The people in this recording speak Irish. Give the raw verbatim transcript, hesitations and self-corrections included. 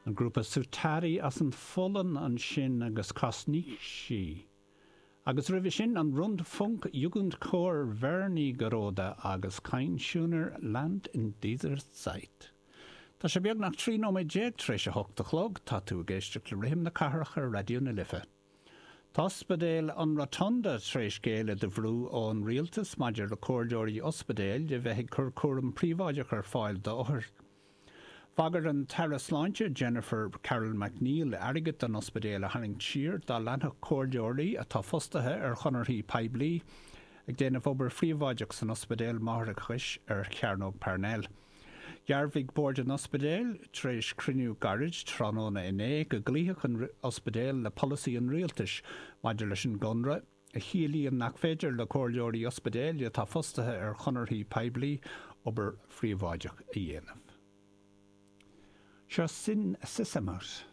An grúpa Suutari as an Pholainn ansin agus Kosnichi. Agus roimhe sin an Rundfunk Jugendchor Wernigerode agus Kein schöner Land in dieser Zeit. Tá sé beagnach trí nóiméad déag tar éis a hocht a chlog, tá tú ag éisteacht le Rithim na Cathrach ar Raidió na Life. Tá ospidéal an Rotunda tar éis géilleadh do bhrú ón rialtas maidir le comhairleoirí ospidéil de bheith ag cur cúram príobháideach ar fáil d'othair. Bhagair an tAire Sláinte Jennifer Carroll MacNeill airgead don ospidéal a tharraingt siar dá leanfadh comhairleoirí atá fostaithe ar chonarthaí poiblí ag déanamh obair phríobháideach san ospidéal máithreachais ar Chearnóg Parnell. Dhearbhaigh Bord an Ospidéil tar éis cruinniú gairid tráthnóna inné go gcloífeadh an ospidéal le polasaí an rialtais maidir leis an gconradh, a chiallaíonn nach féidir le comhairleoirí ospidéil atá fostaithe ar chonarthaí poiblí obair phríobháideach a dhéanamh. Seo Sinn Sissamut.